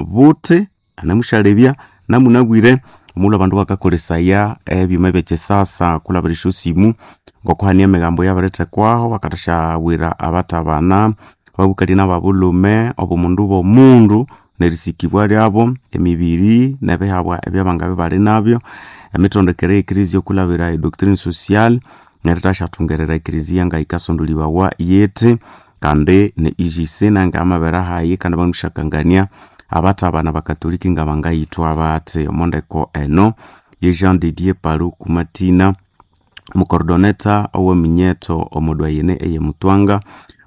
Buthi anamushalebya namunabwire omulhu abandu bakakolesaya ebyuma ebyekisasa kulabira esyosimu ngokuhania emigambo eyabirithekwaho bakathasyaghwira abathabana ababukali nababulhume obumundu bw'omundu nerisikibwa lyabo emibiri nebihabwa ebyabangabya ibali nabyo emitondekere y'ekereziya okulabira edoctrine social nerithasyathungerera ekereziya ngayikasondolibawa yithi kandi ne EGC nangamabirehayi hayi kandi bamusyakangania abathabana bakatoliki ngabangayithwa bathi omo ndeko eno ye Jean de Dieu Paluku Matina mucoordinator oweminyetho omo doyenne eye Mutwanga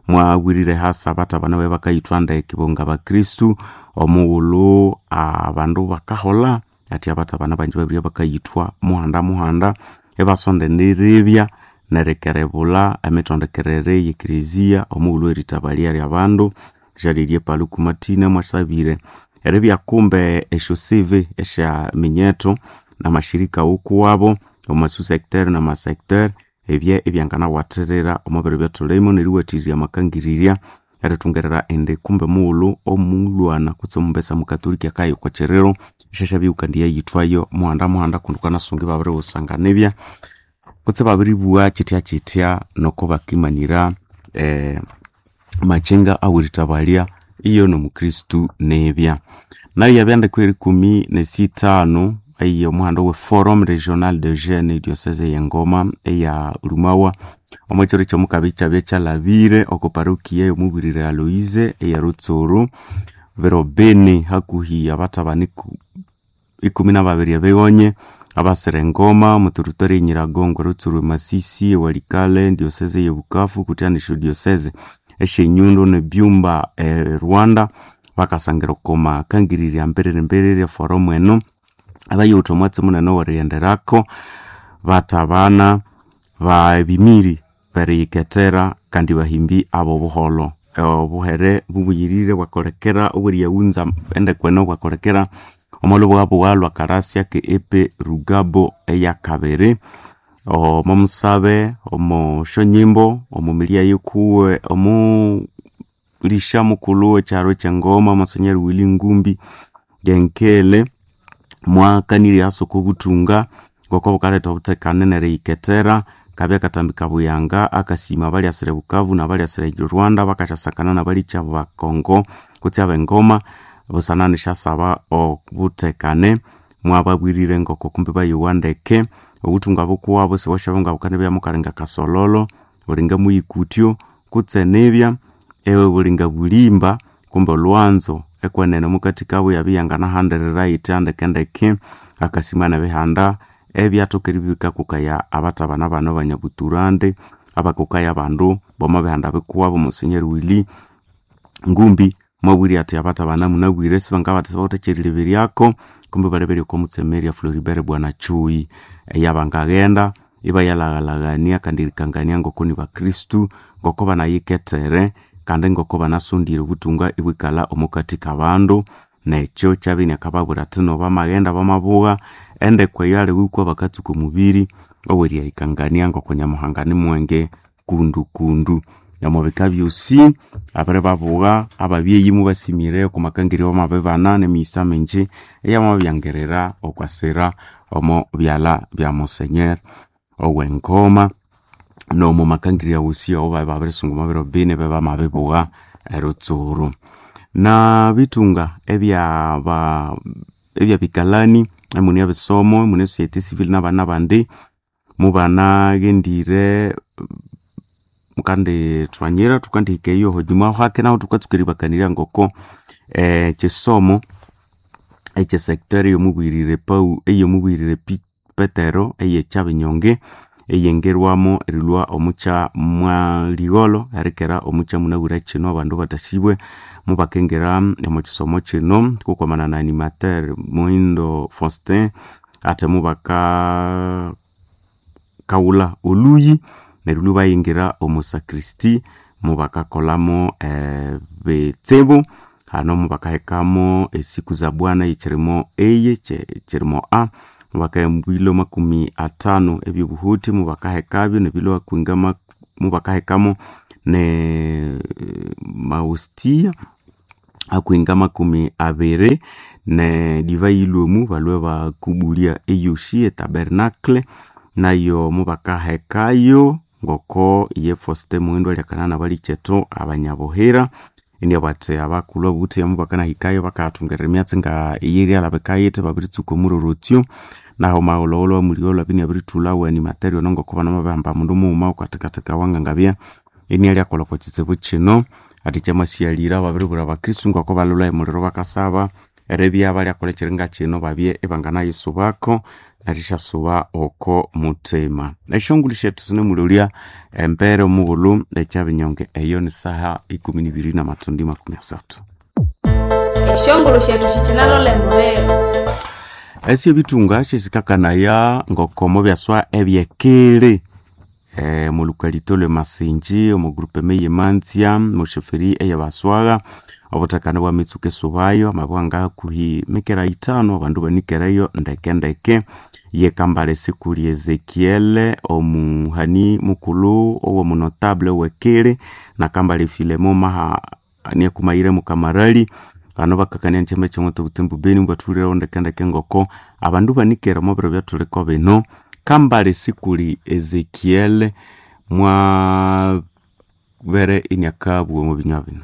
mwabwirire hasi abathabana babe bakayithwa ndeke bo ngabakristu omughulhu abandu bakaholha athi abathabana banji babiribya bakayithwa muhanda muhanda ibasonda eriribya nerikerebulha emitondekerere y'ekereziya omughulhu weritabalya lyabandu Jean de Dieu Paluku Matina mwasabire eribya kumbe esyo CV esya minyetho namashirika wukuwabo omo su-secteur nama-secteur ebye ebyanganawathirira omo biro ebyathulimu neriwathirya amakangirirya erithungerera indi kumbe mughulhu omulhwana kutse omumbesa mukatoliki akaya okwa kyiriro isyasyabya kandi yayithwayo muhanda muhanda kundi wukanasunga ibabiriwusanganibya kutse ibabiribugha kyithya kyithya noko bakimanira makyenga aweritabalya iyo nomukristu nibya. Nayo yabya ndeko erikumi nesithanu eyo omuhanda owe Forum Regional de Jeunes diocese ey'Engoma eya Rumawa omo kyiro kyomukabya ikyabya kyalhabire oko parokia ey'omubirire Aloise eya Rutsuru biro bini hakuhi abathabana ikumi nababiri ebighonye abasira engoma omo territory e Nyiragongo, Rutsuru, Masisi, Walikale, diocese eye Bukavu kutya nesyo diocese esyenyundo nebyumba e Rwanda bakasangira oko makangirirya mbiriri mbiriri eforum eno abayuwithe omwatsi munene owerighenderako bathabana babimiri beriyikethera kandi bahimbi abobuholho. Obuhere bubuyirire bwakolekera obweriyaghunza endeko eno bwakolekera omo lhubughabugha lhwa Karasia ke EP Rugabo eyakabiri omo musabe omo syonyimbo omo milya yikuwe omulisha mukulhu wekyaro kyengoma Monsenyeri Willy Ngumbi Ngenkele mwakanirye hasi oko buthunga ngoko bukaletha obuthekane neriyikethera kabya akatambi kabuyanga akasima abalyasira Bukavu nabalyasira Rwanda bakasyasakana nabalikya bakongo kutse abengoma busana nisyasaba obuthekane mwababwirire ngoko kumbi bayowa ndeke obuthunga bukuwabo sibwasyabya ngabukanibya mukalinga kasololo bulinga muyikutyo kutse nibya ewe bulinga bulimba kumbe olhwanzo ekwenene mukathi kabo yabya iyanganahandirira yithi ndekendeke akasima nebihanda ebyathoka eribya bikakokaya abathabana bano abanyabuthurande abakokaya abandu bomo bihanda bikuwabo Monsenyeri Willy Ngumbi mwabwire athi abathabana munabwire sibangabathi sibawithe ekyerileberyako kumbe baleberye oko mutsemerya Floribert Bwana Chui eyabangaghenda ibayalaghalhaghania kandi erikangania ngoko nibakristu ngoko banayikethere kandi ngoko banasondire obuthunga ibwikalha omukathi kabandu nekyo kyabya inakababwira athi no bamaghenda bamabugha endeko eyo aliwikwa bakatsuka omubiri oweriyahikangania ngoko Nyamuhanga nimwenge kundu kundu. Omubika byosi abiribabugha ababyeyi mubasimire oko makangirya bamabibana nemighisa mingi eyamabyangerera okwasira omo byalha bya Monsenyeri owengoma nomo makangirya wosi awo babirisunga omo biro bini bamabibugha erutsuru. Na bithunga ebyabikalani emune ebisomo emune society civil nabana bandi mubanaghendire mukandithwanyira thukandihika eyo hunyuma hake nahu thukatsuka eribakanirya ngoko ekyisomo ekyesector eyomubwirire Paul eyomubwirire Petero eyekyabinyonge eyengerwamo erilhwa omukya mwaligholho erikera omukya munabwire kino abandu bathasibwe mubakingira omo kisomo kino kukwamana na animateur Muhindo Faustin athi mubaka kawulha olhuyi neryo lhwa ibayingira omo sacristy mubakakolamo ebitsibu hano mubakahekamo esiku za bwana ekyirimo A kyirimo A mubakaheka ebilo 50 ebyobuhuthi mubakahekabyo nebilo mubakahekamo ne maustia. hakuhinga 20 ne divai ilwemu balwe bakubulya eyoshi etabernacle nayo mubakahekayo ngoko ye Faustin Muhindo alyakana nabalikyetu abanyabuhira indi bati abakulhu abuthi mubakanahikayo bakathungerera emyatsi nga eyiryalabika yithi babiritsuka omurorotyo naho maghulhughulhu amulio lwabya inabirithulhawo animateri ono ngoko banamabihamba mundu mughuma wukathekatheka wangangabya inialyakolha okwa kitsibu kino ati kyamasighalira babiribwira abakristu ngoko balholha emuliro bakasaba eribya balyakolha ekiringa kino babye ibanganayisubako nerishasuba oko muthima. Esyongulhu syethu sinemulolya embere omughulhu ekyabinyonge eyo ni saha 12 na mathundi 30. Esyongulhu syethu sikinalolha emubiri. Esyo ebithunga syesikakanaya ngoko mubyaswa ebyekili omulukalito lwe Masinji omu groupement eye Manzya musheferi eye Baswagha obuthekane bwamitsuka esubayo amabwa hakuhi mikera 5 abandu banikereyo ndeke ndeke ye Kambale Sikuli Ezekiel omuhani mukulhu owomunotable owekili na Kambale Filemo maha niakumayire mukamarali bano bakakania nkyama kyamwatha obutembu beni mubathulhireho ndeke ndeke ngoko abandu banikere omo biro ebyathuliko bino. Kambale Sikuli Ezekiel mwabere iniakabugha omo binywa bino.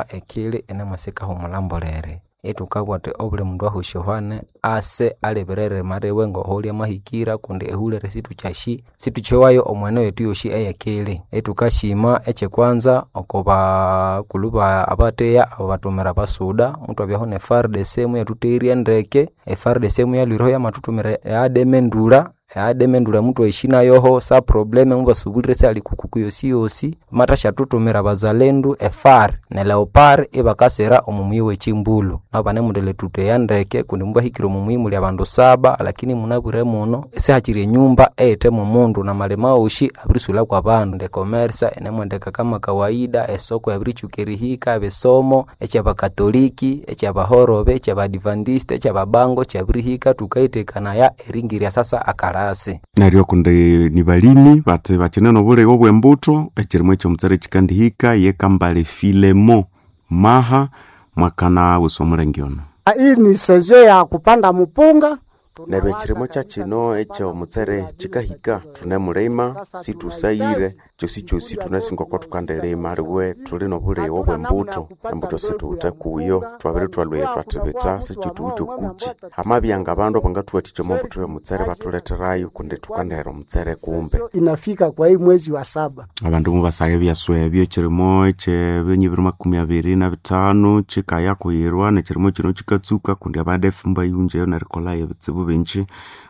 Ekili inamasika humulha ithukabugha thuthi obuli mundu ahosyohwane ase alebere eririma liwe ngoholi amahikira kundi ehulere situkyasi situkyowayo omwene yethu yosi eyekili. Ithukasima ekyekwanza oko bakulhu abatheya ababathumira abasuda muthwabyaho ne FARDC muyathutherya ndeke. E FARDC muyalhwireho yamathuthumira e ADM endulha, e ADM endulha muthwayishi nayoho sa probleme mubasubulire isihali kukuku yosiyosi. Bamathasyathuthumira abazalendu e FAR ne Leopard ibakasira omo muyi wekyimbulhu. Nabo banemuthutheya ndeke kundi mubahikire omo muyi muli abandu saba lakini munabwire muno isihakyiri enyumba eyithe momundu namalima wosi abirisulha kwabandu. E commerce yinemwendeka kama kawaida, esoko yabiritsuka erihika, ebisomo ekyabakatoliki, ekyabahorobe, ekyabadventista, ekyababango kyabirihika thukayithekanaya eringirya sasa akalasi. Neryo kundi nibalimi bathi bakyine nobulighe obwembutho ekyirimo ekyomutsere kyikandihika ye Kambale Filemo Maha mwakana wusa omulenge ono. Hii ni sezio ya kupanda mupunga. Neryo ekyirimo kyakyino ekyomutsere kyikahika thunemulima sithusayire kyosikyosi thunasi ngoko thukandelima aliwe thuli nobulighe obwembutho embutho situwithe kuyo thwabirithwalhwaya thwathibitha sikyithuwithe okukyi. Hamabya ngabandu abangathuwathikya omwa mbutho yomutsere bathuletherayo kundi thukandihera omutsere kumbe. Inafika kwa hii mwezi wa saba. Abandu mubasagha ebyaswa ebyo ekyirimo ekyebinyibiri 25 kyikaya kuyirwa nekyirimo kino kyikatsuka kundi abadefu mubayunjayo nerikolhayo ebitsibu bingi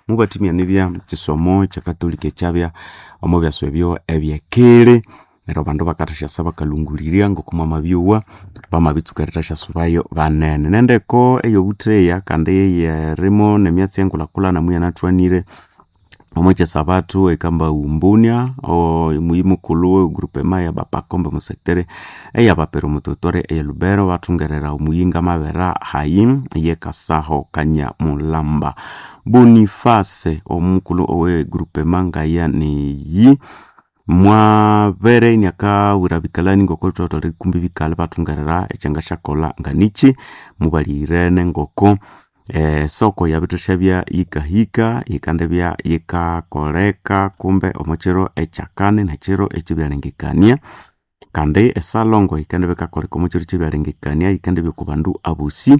mubathimya nibya kisomo ekyakatolika ekyabya omo byaswa ebyo ebyekili neryo abandu bakathasyasa bakalhungulirya ngoko mwamabyowa bamabitsuka erithasyasubayo banene. Nendeko eyobutheya kandi eyerimo nemyatsi engulhakulhana muyanathwanire omo kyesabathu ekamba umbunia omuyi mukulhu we groupement ya bapakombe omu sector eyabapere omu territory eye Lubero bathungerera omuyinga amabera hayi ye Kasaho Kanyamulamba. Boniface omukulhu owe groupement ngaya niyi mwabere iniakawira bikalani ngoko thwatholere kumbi bikalha bathungerera ekyangasyakolha nganikyi mubaliyirene ngoko esoko yabithasyabya yikahika yikandibya yikakoleka kumbe omo kiro ekyakani nekiro ekyebyalengekania kandi esalongo yikandibya yikakoleka omo kiro ekyebyalengekania yikandibya oko bandu abosi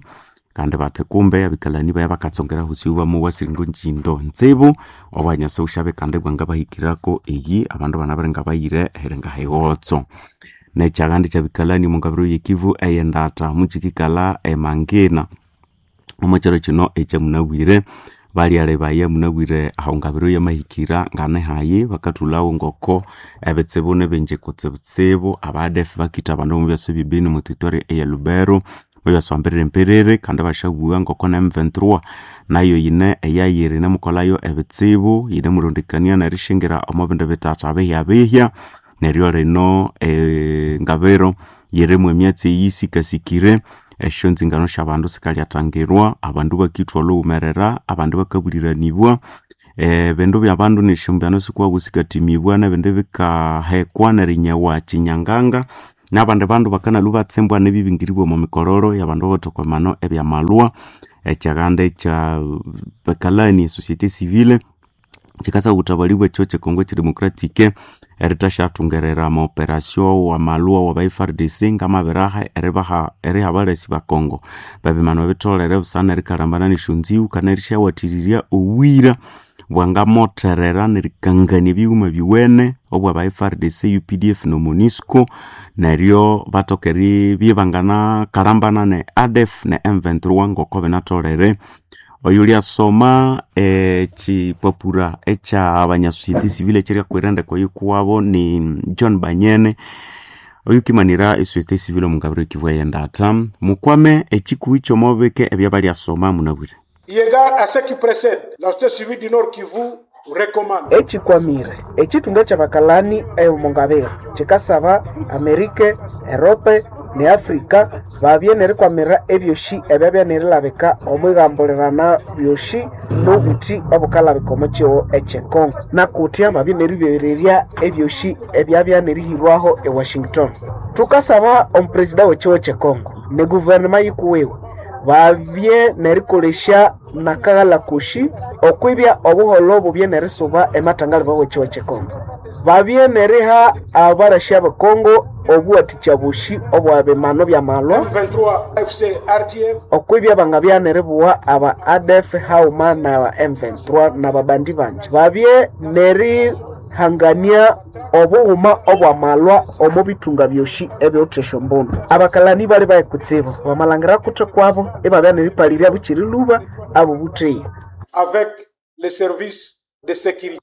kandi bathi kumbe abikalani baya bakatsongera hosi bamowa siringo njindo ntsibu obwanyasa busyabe kandi bwangabahikirako eyi abandu banabere ngabayire ehiringa highotso. Nekyagandi kyabikalani omungabiro yekivu eyendata mukyikikalha emangina omo kyiro kino ekyamunabwire balyalebaya munabwire aho ngabiro yamahikira nganehayi bakathulhawo ngoko ebitsibu nibingi kutsibutsibu abadefu bakitha abandu omu byasa ebyebeni omu territory eye Lubero mubyaswambirire mperere kandi basyabugha ngoko ne M23 nayo yine eyayiri yinemukolhayo ebitsibu yinemurondekania nerishingira omo bindi bithatha bihyabihya neryo lino ngabiro yirimu emyatsi eyisikasikire esyonzingano syabandu sikalyathangirwa abandu bakithwa olhughumerera abandu bakabuliranibwa ebindu byabandu nesyombano sikuwabu sikathimibwa nebindi bikahekwa nerinyewa kyinyanganga. N'abandi bandu bakanalwa batsembwa n'ebibingiribwa omo mikororo y'abandu abathokomano ebyamalwa ekyaganda ekya bakalani société civile kikasa obutabali bwekyo kyekongo kyedemocratic eritasyathungerera amaoperasyo wamalwa waba FARDC ngamabiraha eribaha eriha abalasi ba Kongo babimano bitolere busana erikalambana nesyonziwu kana erisyawathiriria obwira bwangamotherera nerikangania ebighuma biwene obwaba FARDC, UPDF no MONUSCO neryo batoka eribya ibanganakalambana ne ADF ne M23 ngoko binatholere. Oyo lyasoma ekipapura ekya société civile ekyeryakwira endeko yikuwabo ni John Banyene oyukimanira esociété civile omungabiro ekivu eyendata mukwame ekikuhi kyomobeke ebyabalyasoma munabwire. Eu égard à ce qui précède, la société civile du Nord Kivu recommande ekikwamire ekitunga kyabakalani ey'omungabiro kikasaba Amerika, Erope ne Afrika babye nerikwamirira ebyosi ebyabya nerilabika omwigambulirana byosi n'obuthi obukalabika omu kihugho ekyekongo nakutya babye neribererya ebyosi ebyabya nerihirwaho e Washington. Tukasaba omupresida w'ekihugho kyekongo ne guverinema yikuwiwe babye nerikolesya nakaghalha kosi okwibya obuholho bubye nerisuba ematangaliba w'ekihugho kyekongo. Babye neriha abarasi abekongo obuwathikya bosi obwabimano byamalwa M23 FC RDF okwibya bangabya neribuwa aba ADF hauma na M23 nababandi bangi. Babye nerihangania obughuma obwamalwa omu bithunga byosi ebyowutha esyombundu. Abakalani bali bayi kutsibu bamalhangira kutha kwabo ibabya neripalirya bukiri lhuba abo butheya. avec les services de sécurité.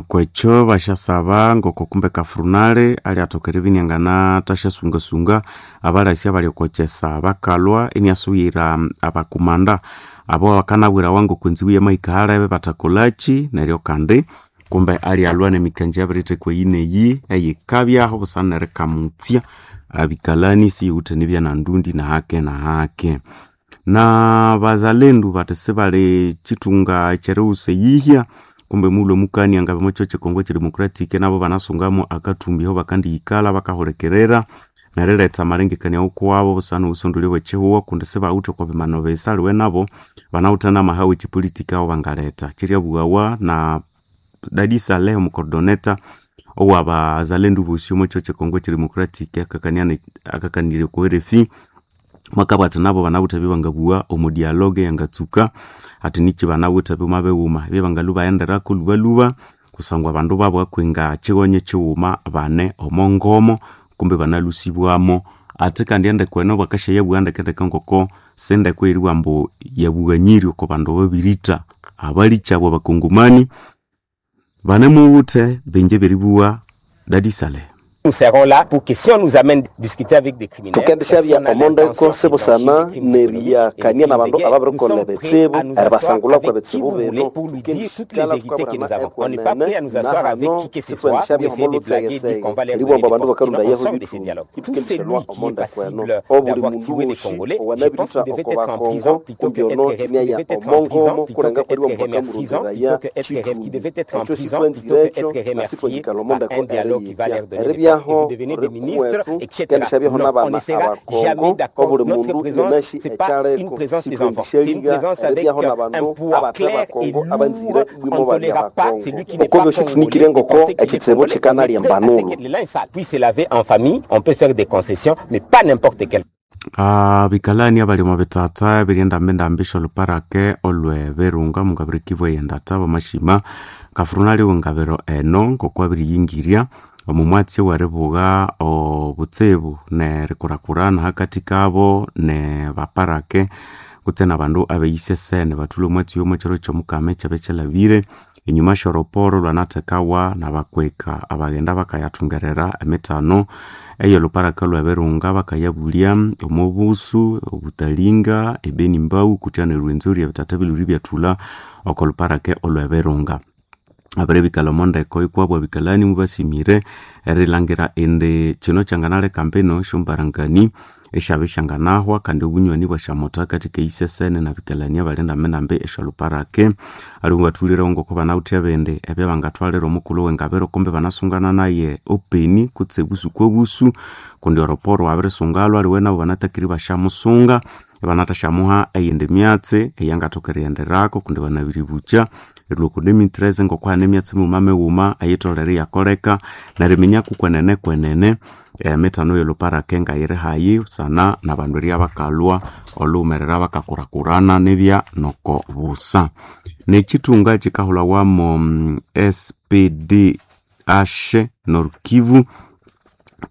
Kwekyo basyasaba ngoko kumbe kafurunale alyathoka eribya inianganathasyasungasunga abalasi abali okokyesa bakalwa iniasubira abakumanda abo bakanabwirawa ngoko enzibu yamahika halebe bathakolhaki neryo kandi kumbe alyalwa nemikangya yabirithekwa eyi neyi eyikabyaho busana nerikamutsya abikalani siyiwithe nibya nandundi nahake nahake. Na bazalendu bathi sibali kyithunga ekyeriwusa eyihya kumbe mughulhu omukania ngabya omwa kihugho kyekongo kyedemocratic nabo banasungamu akathumbi aho bakandiyikalha bakahulikirira neriletha amalengekania wukuwabo busana obusondolyo bwekihugho kundi sibawithe okwa bimano bisa aliwe nabo banawithe namaha wekyipolitiki aho bangaletha. Kyiryabughawa na Dadi Saleh omucoordinator owabazalendu bosi omwa kihugho kyekongo kyedemocratic akakanirya okwa RFI mwakabugha athi nabo banawithe ebyabangabugha omu dialogue eyangatsuka athi nikyi banawithe ebighuma bighuma ebyabangalhwa baghenderako lhubalhuba kusangwa abandu babugha kwinga kyighonyo kyighuma bane omo ngomo kumbe banalhusibwamo. Athi kandi endeko eno bakasyayabugha ndekendeke ngoko sindeko eyeribugha ambu yabughanyirye oko bandu ababiritha abalikyabu abakongomani banemuwuthe bingi ebyeribugha Dadi Saleh. Nous serons là pour que si on nous amène discuter avec des criminels, Thukendisyabya omondeko sibusana neriyakania nabandu ababirikolha ebitsibu eribasangulha kwa bitsibu bino pour lui dire toutes les vérités que nous avons. On n'est pas prêt à nous asseoir avec qui que ce soit pour essayer de blaguer, dire qu'on va leur donner eribwamba des abandu postes. Sinon, on bakarundayeho sort de ces dialogues. Tout celui qui est passible obuli d'avoir mundu tué des wosi Congolais, je pense owanabirithwa qu'il devait oko être en prison bakongo plutôt que kumbi être ono qu'il niaya devait être en prison omongomo plutôt kulenga que être kuriwa remercisant, bakamurundiraya plutôt que être qui devait être en ekyo prison plutôt que sitwanzirekyo être remercié nasitwanyikala par omondeko un dialogue qui va eriyitya leur donner des postes. Et eribyaho vous devenez des ministres, rikuwetu etc. kendishabyaho Non, on n'abana ne sera jamais abakongo d'accord. obuli Notre mundu présence, yenashi c'est pas une ekyaleko présence des enfants, c'est une sitwendisyayiga présence avec eribyaho un n'abandu poids abathe clair et bakongo lourd. abanzire On bwimo ne bali tolérera pas abakongo celui qui n'est oko pas byosi congolais thunikire et ngoko penser qu'il est ekitsibu congolais. On est kyikanalya prêt à ce embanulo que le linge sale puisse se laver en famille. On peut faire des concessions, mais pas n'importe quel. Abikalani abali omo bithatha ebiri endambendambi syoluparake olwe Virunga mungabiro Kivu eyendata bamashima kafurunali wengabiro eno ngoko abiriyingirya omu mwatsi oweribuga obutsibu nerikurakurana hakathi kabo ne baparake kutse nabandu abeyisesene bathulhe omwatsi oyo omwekyiro kyomukama ekyabya kyalhabire enyuma syoroporo lwanathekawa nabakweka abaghenda bakayathungerera emithano eyolhuparaka lwe Virunga bakayabulya omo busu, obutalinga, ebeni mbau kutya nerwenzori ebithatha bilhwe ibyathulha oko lhuparake olwe Virunga. Abiribikalha omo ndeko ikwabo abikalani mubasimire erilhangira indi kino kyanganaleka mbino esyombarangani esyabe syanganahwa kandi obunywani bwasyamoto akati keisesene na bikalania bali ndambi esyaluparake. Aliwe bathulire ngoko banawithe ebindi ebyabangathwalira omukulhu wengabiro kumbe banasungana naye openi kutse busu kwobusu kundi oroporo wabirisungalwa aliwe nabo banatakire ibasyamusunga ibanathasyamuha eyindi myatsi eyangathoka erighenderako kundi banabiribukya erilhwa oko 2013 ngoko hane emyatsi mighuma mighuma eyitholere iyakoleka neriminya kukwenene kwenene emithano ey'olhuparake ngayiri hayi busana nabandu eribya bakalhwa olhughumerera bakakurakurana nibya noko busa. Nekyithunga kyikahulhawamo SPDH Nord Kivu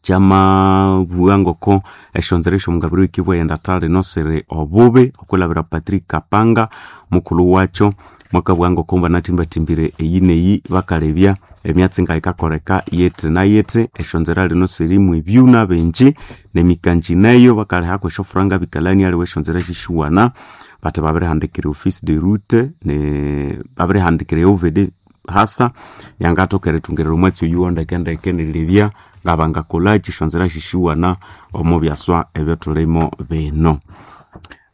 kyamabugha ngoko esyonzera esyomugabiro w'ekivu eyendatha lino siri obubi okwilhabira Patrick Kapanga mukulhu wakyo mwakabugha ngoko banathimbathimbiire eyi neyi bakalebya emyatsi ngayikakoleka yithi na yithi. Esyonzera lino sirimu ebyuna bingi nemikanji neyo bakalihako esyofuranga bikalani aliwe esyonzera sisyiwana bathi babirihandikira office de route babirihandikira OVD hasa yangathoka erithungirira omwatsi oyuwa ndekendeke nerilebya ngabangakolhaki esyonzera sisyiwana omo byaswa ebyathulimo bino.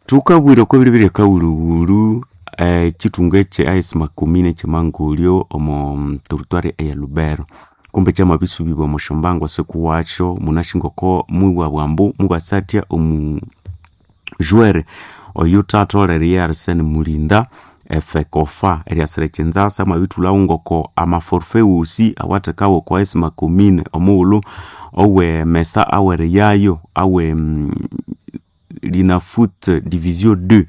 Thukabwira oko biribiri akawulhuwulhu ekyithunga ekye AS Makumine ekyemangolyo omo territory eye Lubero kumbe kyamabisubibwa omo syombango sikuwakyo munasi ngoko mubabugha ambu mubasathya omu joueur oyuthatholere ye Arsene Mulinda efekofa eryasira ekyinzasa mwabithulhawo ngoko amaforfait wosi awathekawa oko AS Makumine omughulhu owe mesa aweriyayo awe Linafoot division 2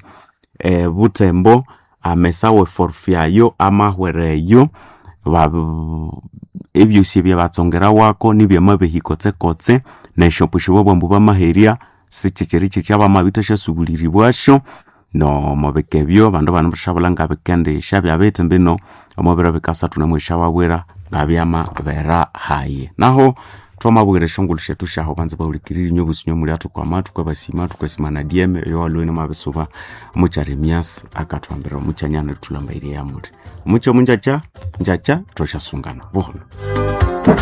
Butembo amesa awe forfait ayo amahwereyo ebyosi ebyabatsongerawako nibyamabehya kotsekotse nesyoposyo babugha ambu bamaherya sikyikyiri kyikya bamabithasyasubuliribwasyo nomubika ebyo abandu banemushabulha ngabikendisya bithi mbino omwabiro bikasathu namwesyababwira ngabyamabera hayi. Naho thwamabwira esyongulhu syethu syahu banza bahulikirire inywe obusi inywe muli athukwama thukabasima thukasima na DM eyowalhwe inamabisuba omukyara emyasi akathwambira omukyanya nerithulhambairye eyamuli. Omuky omunjakya njakya thwasyasungana buholho.